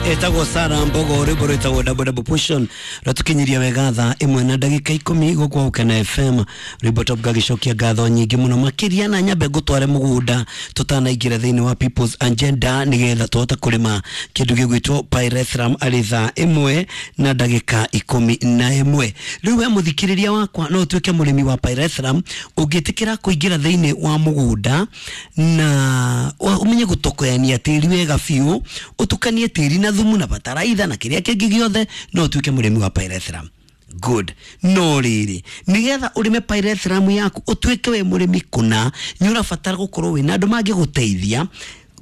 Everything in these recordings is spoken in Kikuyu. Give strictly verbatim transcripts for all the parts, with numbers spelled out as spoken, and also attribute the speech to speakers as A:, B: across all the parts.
A: Etagwo Sara Mbogo rwimbo rwĩtagwo double double portion rwatukinyiria wega thaa ĩmwe na ndagĩka ikũmi gũkũ Gũkena F M. Rwimbo top gagĩcokia ngatho nyingĩ mũno makĩria na nyambe ngũtware mũgũnda tũtanaingĩra thĩinĩ wa People's Agenda nĩgetha tũhote kũrĩma kĩndũ gĩgwĩtwo pyrethrum arĩ thaa ĩmwe na ndagĩka ikũmi na ĩmwe. Rĩu we mũthikĩrĩria wakwa no ũtuĩke mũrĩmi wa pyrethrum ũngĩtĩkĩra kũingĩra thĩinĩ wa mũgũnda na ũmenye gũtokoyania tĩri wega biũ, ũtukanie tĩri na thumu na bataraitha na kĩrĩa kĩngĩ gĩothe, no ũtuĩke mũrĩmi wa pyrethrum. Good. No rĩrĩ, nĩgetha ũrĩme pyrethrum yaku ũtuĩke we mũrĩmi kũna, nĩ ũrabatara gũkorwo wĩna andũ mangĩgũteithia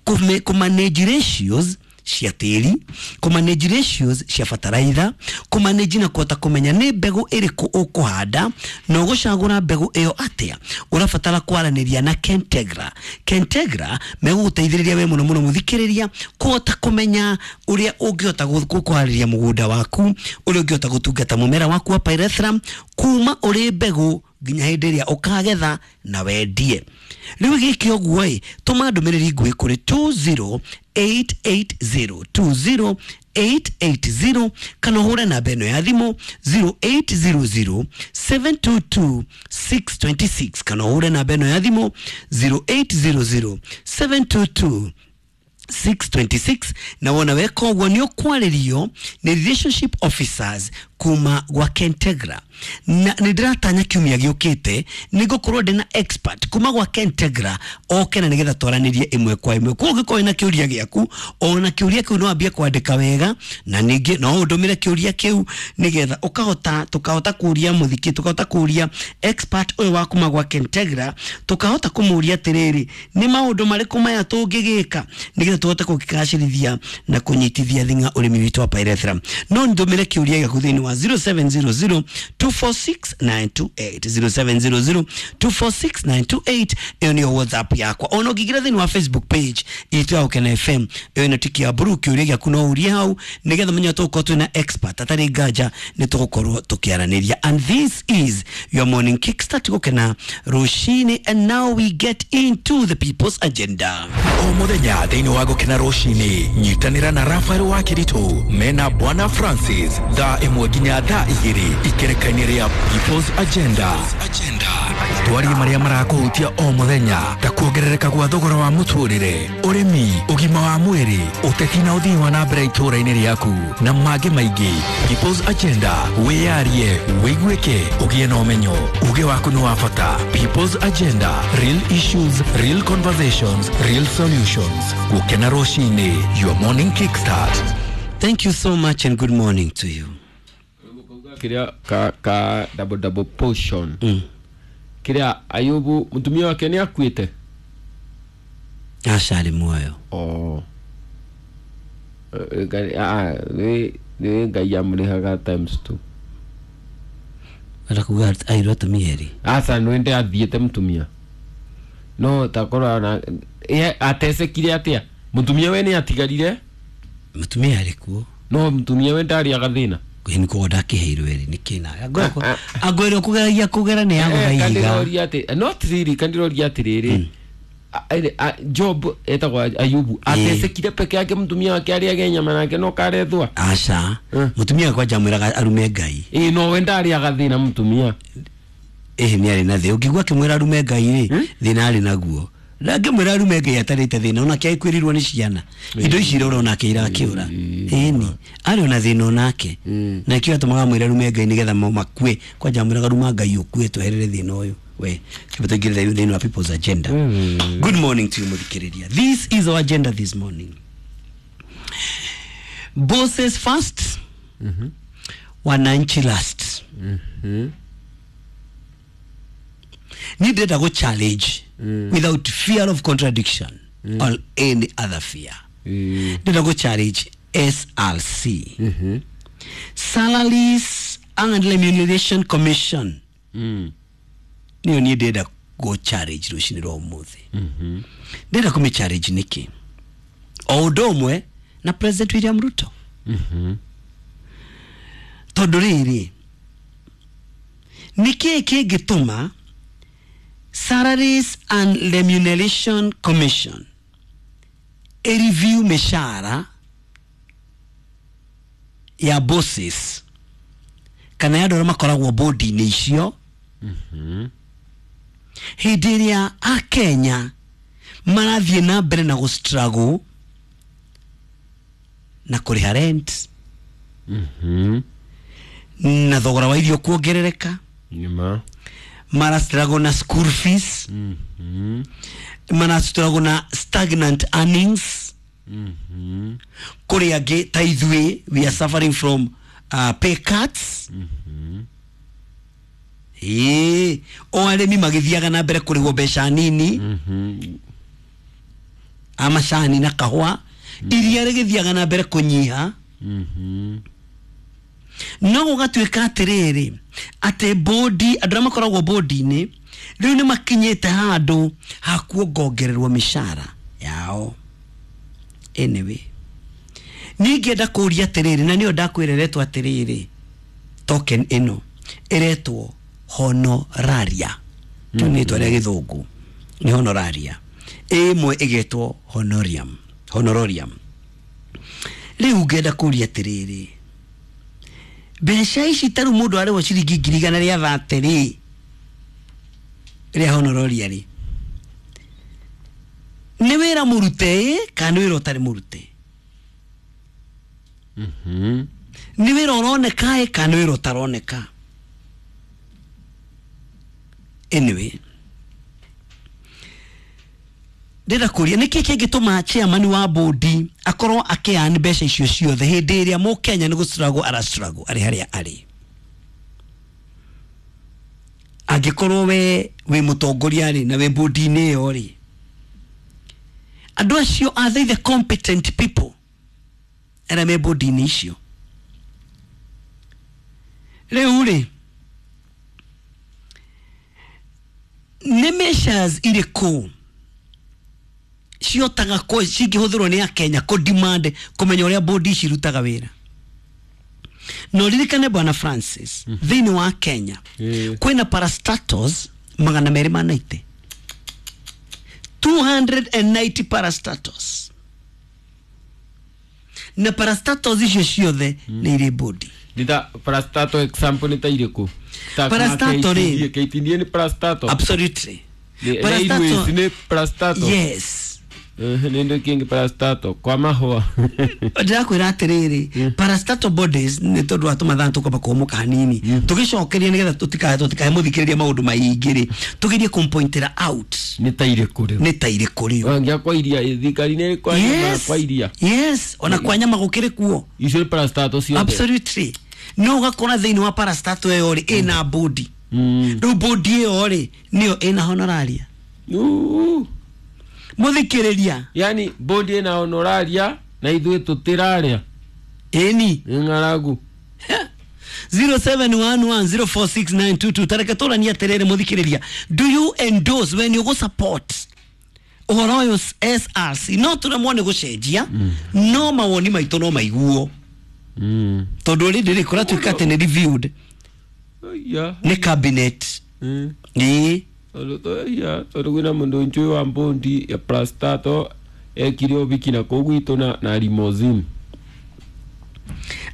A: kũ manage ratios cia tĩri, kũ manage ratios cia bataraitha, kũ manage na kũhota kũmenya nĩ mbegũ ĩrĩkũ ũkũhanda na ũgũcagũra mbegũ ĩyo atĩa. Ũrabatara kwaranĩria na Kentegra. Kentegra megũgũteithĩrĩria we mũno mũno mũthikĩrĩria kũhota kũmenya ũrĩa ũngĩhota kũharĩria mũgũnda waku, ũrĩa ũngĩhota gũtungata mũmera waku wa pyrethrum kuma ũrĩ mbegũ nginya hĩndĩ ĩrĩa ũkagetha na wendie. Rĩu gĩkĩ ũguo ĩ, tũma ndũmĩrĩri nguhĩ kũrĩ two zero eight eight zero, two zero eight eight zero kana ũhũre namba ĩno ya thimũ zero eight zero zero seven two two six two six kana ũhũre namba ĩno ya thimũ zero eight zero zero seven two two six two six na wona weka ũguo nĩ ũkwarĩrio nĩ relationship officers kuma gwa Kentegra. Na nĩ ndĩratanya kiumia gĩũkĩte nĩ ngũkorwo ndĩ na expert kuma gwa Kentegra oke na nĩgetha twaranĩrie ĩmwe kwa ĩmwe. Koguo ũngĩkorwo wĩna kĩũria gĩaku, ona kĩũria kĩu no wambie kwandĩka wega na ningĩ no ũndũmĩre kĩũria kĩu nĩgetha ũkahota, tũkahota kũria mũthiki, tũkahota kũria expert ũyũ wa kuma gwa Kentegra, tũkahota kũmũria atĩrĩrĩ, nĩ maũndũ marĩkũ maya tũngĩgĩka nĩgetha tũhote gũkĩgacĩrithia na kũnyitithia thing'a ũrĩmi witũ wa pyrethrum. No ndũmĩre kĩũria gĩaku thĩinĩ wa zero seven zero zero two four six nine two eight, zero seven zero zero two four six nine two eight. Ĩyo nĩyo WhatsApp yakwa. Ona ũngĩingĩra thĩinĩ wa Facebook page itũ ya Gũkena F M, ĩyo ĩna tiki ya blue, kĩũria gĩaku no ũrie hau nĩgetha ũmenye tũgũkorwo twĩna expert atarĩ nganja nĩ tũgũkorwo tũkĩaranĩria. And this is your morning kickstart Gũkena rũcinĩ, and now we get into the People's Agenda.
B: O mũthenya thĩinĩ wa Gũkena rũcinĩ, nyitanĩra na Rafael wa Kĩritũ mena Bwana Francis thaa ĩmwe nginya thaa igĩrĩ ikereka-inĩ rĩa People's Agenda. Twarie marĩa marakũhutia o mũthenya ta kuongerereka gwa thogora wa mũtũrĩre, ũrĩmi, ũgima wa mwĩrĩ, ũteti na ũthii wa na mbere itũũra-inĩ rĩaku na mangĩ maingĩ. People's Agenda, wĩyarie, wĩiguĩke, ũgĩe na ũmenyo. Uge waku nĩ wa bata. People's Agenda, real issues, real conversations, real solutions. Gũkena rũcinĩ, your morning kickstart.
A: Thank you so much and good morning to you.
C: Kiria ka, ka double double portion.
A: Mm.
C: Kiria Ayubu mutumia wake ni akuite.
A: Aca arĩ muoyo.
C: Oh. Ah, ni ni Ngai amũrĩhaga times two.
A: Wenda kuga airwo atumia erĩ.
C: Aca nwende athiĩte mũtumia. No takorwo na ye atecekire atĩa? Mũtumia we nĩ atigarire?
A: Mũtumia arĩ kuo.
C: No mũtumia we ndarĩaga thĩna.
A: Nĩ koguo ndakĩheirwo erĩ nĩ kĩna. Angwĩrwo kũgeragia kũgera nĩ yagũtha ihiga.
C: Kandiroria atĩ not really, kandiroria atĩrĩrĩ. Job etagwo Ayubu atecekire peke yake mũtumia wake arĩage nyama nake no karethwa.
A: Aca mũtumia wakwa njamwĩraga arume Ngai.
C: Ĩĩ no we ndarĩaga thĩna mũtumia.
A: Ĩhĩ nĩ arĩ na thĩ. Ũngĩigua akĩmwĩra arume Ngai rĩ, thĩna arĩ naguo. Na ngĩmwĩra arume Ngai atarĩte thĩna onake akwĩrirwo nĩ ciana. Indo ici irora onake irakĩũra. Ĩni arĩ ona thĩna onake. Na kĩo atũmaga mwĩre arume Ngai nĩgetha makue. Kwanja amwĩraga ruma Ngai ũkue tweherere thĩna ũyũ. We kĩbata ingĩrĩra thĩinĩ wa People's Agenda. Good morning to you mũthikĩrĩria. This is our agenda this morning. Bosses first, wananchi last. Ni ndĩrenda gũ challenge without fear of contradiction or any other fear. Ndĩrenda gũ challenge S R C, Salaries and Remuneration Commission. Niyo niĩ ndĩrenda gũ challenge rũcinĩ rwa ũmũthĩ. Ndĩrenda kũmĩ challenge nĩkĩ? O ũndũ ũmwe na President William Ruto. Tondũ rĩrĩ, nĩkĩĩ kĩngĩtũma Salaries and Remuneration Commission e review mĩcara ya bosses kana ya andũ arĩa makoragwo bodi-inĩ icio hĩndĩ ĩrĩa akenya marathiĩ na mbere na gũ struggle na kũrĩha rent
C: Mhm.
A: na thogora wa irio kuongerereka
C: Nĩma.
A: mara struggle na school fees
C: Mhm.
A: mara struggle na stagnant earnings
C: Mhm.
A: kũrĩ angĩ ta ithuĩ we are suffering from uh, pay cuts ĩĩ o arĩmi magĩthiaga na mbere kũrĩhwo mbeca nini
C: Mhm.
A: a macani na kahũa iria rĩgĩthiaga na mbere kũnyiha
C: Mhm.
A: no gũgatuĩka atĩrĩrĩ atĩ bodi andũ arĩa makoragwo bodi-inĩ rĩu nĩ makinyĩte handũ ha kuongongererwo mĩcara yao anyway niĩ ingĩenda kũũria atĩrĩrĩ na nĩyo ndakwĩra ĩretwo atĩrĩrĩ token ĩno ĩretwo honoraria kĩu nĩ rĩtwa rĩa gĩthũngũ nĩ honoraria ĩmwe ĩgetwo honorium honororium rĩu ngenda kũũria atĩrĩrĩ mbeca ici ta rĩu mũndũ arĩhwo ciringi ngiri igana rĩa thate rĩ rĩa honoraria rĩ nĩ wĩra mũrute ĩ kana nĩ wĩra ũtarĩ mũrute
C: Mhm.
A: nĩ wĩra ũroneka ĩ kana nĩ wĩra ũtaroneka anyway ndĩrenda kũria nĩkĩ kĩngĩtũma chairman wa bodi akorwo akĩan mbeca icio ciothe hĩndĩ ĩrĩa mũkenya nĩ gũ struggle ara struggle arĩ harĩa arĩ angĩkorwo we wĩ mũtongoria rĩ na wĩ bodi-inĩ ĩyo rĩ andũ acio are they the competent people arĩa me bodi-inĩ icio rĩu rĩ nĩ measures irĩkũ ciotaga kũ cingĩhũthĩrwo nĩ akenya kũ demand kũmenya ũrĩa bodi ici irutaga wĩra na ũririkane bwana Francis thĩinĩ wa Kenya
C: Ĩĩ.
A: kwĩna parastatals magana merĩ ma ninety two hundred and ninety parastatals na parastatals icio ciothe nĩ irĩ bodi
C: Nĩ ta parastatal example nĩ ta irĩkũ Ta
A: Parastatal rĩ.
C: K T D A nĩ parastatal
A: absolutely
C: Nĩ- Railways nĩ parastatal
A: yes
C: Eh, nĩ ndũ kĩngĩ parastatal kwa mahũa
A: ndĩrakwĩra atĩrĩrĩ parastatal bodies nĩ tondũ wa tũmathaa tũkwamba kũhũmũka hanini tũgĩcokeria nĩgetha tũtikahe tũtikahe mũthikĩrĩria maũndũ maingĩ rĩ tũgerie kũmpointĩra out
C: nĩ ta irĩkũ rĩu
A: nĩ ta irĩkũ rĩu
C: wangia kwa iria thirikari nĩ kwa nyama
A: yes
C: kwa iria
A: yes ona kwa nyama gũkĩrĩ kuo
C: icio nĩ parastatal ciothe
A: absolutely no ũgakora thĩinĩ wa parastatal ĩyo rĩ ĩna bodi
C: Mm.
A: rĩu bodi ĩyo rĩ nĩyo ĩna honoraria
C: Uu.
A: mũthikĩrĩria
C: yani bodi ĩna honoraria na ithuĩ tũtĩrarĩa
A: ĩni
C: nĩ ng'aragu
A: zero seven one one zero four six nine two two tareke tũranie atĩrĩrĩ mũthikĩrĩria do you endorse when you go support ũhoro ũyũ S R C no tũremwo nĩ gũcenjia no mawoni maitũ no maiguo
C: Mm.
A: tondũ already rĩ kũratuĩka atĩ nĩ reviewed
C: Aya.
A: nĩ cabinet
C: Mm.
A: ĩĩ
C: Tondũ to- aya, tondũ kwĩna mũndũ njũĩ wa mbondi ya parastatal ekire ũbiki na kũu gwitũ na, na limousine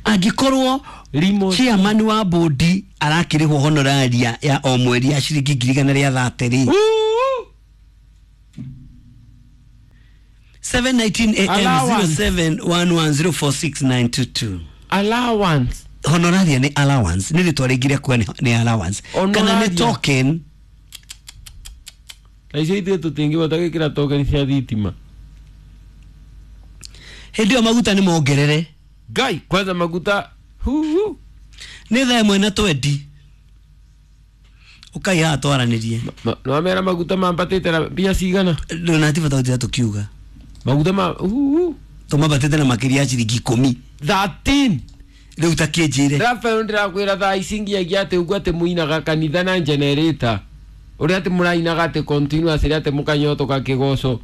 A: angĩkorwo
C: Limousine.
A: chairman wa bodi arakĩrĩhwo honoraria ya o mweri ya ciringi ngiri igana rĩa thate rĩ
C: Uu!
A: seven nineteen A M
C: Allowance.
A: zero seven one one zero four six nine two two
C: allowance
A: honoraria nĩ allowance nĩ rĩtwa rĩngĩ rĩa kuga nĩ- nĩ allowance kana nĩ
C: Honoraria.
A: token
C: na icio ithuĩ tũtingĩhota gwĩkĩra token cia thitima
A: hĩndĩ ĩyo maguta nĩ mongerere
C: ngai kwanza maguta huhu
A: nĩ thaa ĩmwe na twendi ũkai haha twaranĩrie
C: Ma- nĩwamera maguta mambatĩte na mbia cigana
A: ndũnatibata gũtira tũkiuga
C: maguta ma huhu
A: tũmambatĩte na makĩria ya ciringi ikũmi
C: thirteen
A: rĩu ta kĩnjĩre
C: Rafael ndĩrakwĩra thaa ici ngiagia atĩ ũguo atĩ mũinaga kanitha na generator ũrĩa atĩ mũrainaga atĩ continuous rĩ atĩ mũkanyotoka kĩgoco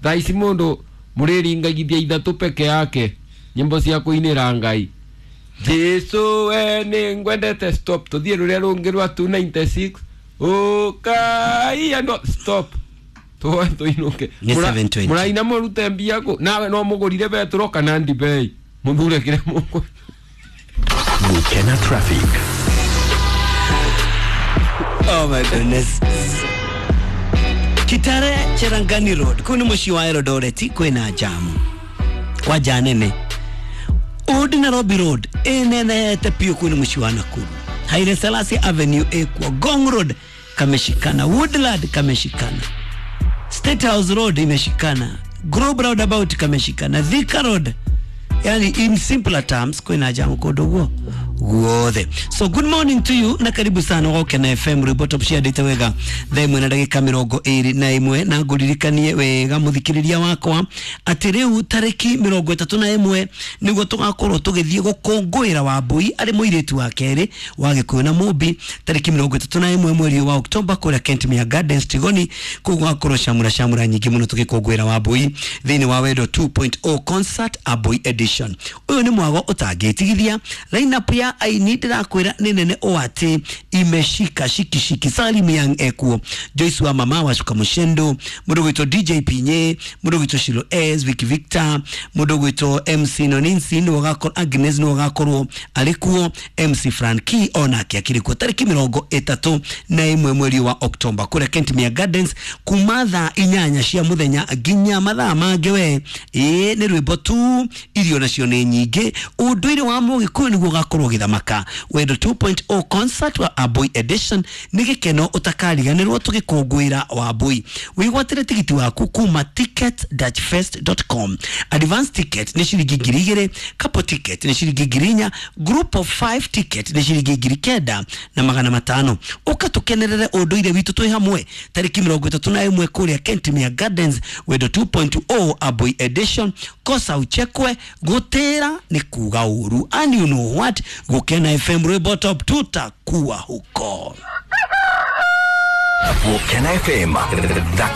C: thaa ici mũndũ mũrĩringagithia ithatũ peke yake nyĩmbo cia kũinĩra Ngai Jesu we nĩ ngwendete stop tũthiĩ rũrĩa rũngĩ rwa two ninety six ũkai andũ stop tuoe tũinũke
A: Nĩ
C: Mũra-
A: seven twenty.
C: mũraina mũrute mbia kũ nawe no mũgũrire betũro kana ndibei mũthure kĩrĩa mũkũ
B: Gukena traffic.
A: Oh my goodness. Kitare Cherangani Road kuu ni muciĩ wa Eldoret kwĩna jamu kwa nene. Old Nairobi Road ĩnenehete piũ kuu ni muciĩ wa Nakuru. Haile Selassie Avenue ĩkuo. Ngong Road kameshikana, Woodland kameshikana, State House Road imeshikana, Globe Roundabout kameshikana, Thika Road. Yani in simpler terms kwina jamu kundu guo guothe. So good morning to you na karibu sana Gukena F M rwimbo top ciandĩte wega thaa ĩmwe na ndagĩka mĩrongo ĩrĩ na ĩmwe, na ngũririkanie wega mũthikĩrĩria wakwa atĩ rĩu tarĩki mĩrongo ĩtatũ na ĩmwe nĩguo tũgakorwo tũgĩthiĩ gũkũngũĩra Wambui arĩ mũirĩtu wa kerĩ wa Gĩkũyũ na Mũmbi tarĩki mĩrongo ĩtatũ na ĩmwe mweri wa Oktoba kũrĩa Kentmere Gardens Tigoni. Kũu gũgakorwo camũra camũra nyingĩ mũno tũgĩkũngũĩra Wambui thĩinĩ wa Wendo two point oh concert Aboi edition. Ũyũ nĩ mwago ũtangĩtigithia. Line-up ya aini ndĩrakwĩra nĩ nene o atĩ imeshika shikishiki. Salim Young ekuo, Joyce wa mama wa Shuka Mushendo, mũndũ gwĩtwo D J Pinye, mũndũ gwĩtwo Shilo S, Vicky Victor, mũndũ gwĩtwo M C Noninsi nĩwe ũgakorwo, Agnes nĩwe ũgakorwo arĩ kuo, M C Frankie onake akĩrĩ kuo tarĩki mĩrongo ĩtatũ na ĩmwe mweri wa Oktoba kũrĩa Kentmere Gardens kuma thaa inyanya cia mũthenya nginya mathaa mangĩ we. Ĩĩ nĩ rwĩmbo tu, irio nacio nĩ nyingĩ, ũndũire wa Mũgĩkũyũ nĩguo ũgakorwo ũgĩthamaka. Wendo two point oh concert wa Aboi edition nĩ gĩkeno ũtakariganĩrwo tũgĩkũngũĩra Wambui. Wĩgwatĩre tigiti waku kuma ticket dash fest dot com. Advance ticket nĩ ciringi ngiri igĩrĩ, couple ticket nĩ ciringi ngiri inya, group of five ticket nĩ ciringi ngiri kenda na magana matano. Ũka tũkenerere ũndũire witũ twĩ hamwe tarĩki mĩrongo ĩtatũ na ĩmwe kũrĩa Kentmere Gardens, Wendo two point oh Aboi edition. Kosa uchekwe, gũtĩra nĩ kuga ũru. And you know what? Gukena F M rwimbo top tutakuwa huko.
B: Gukena F M.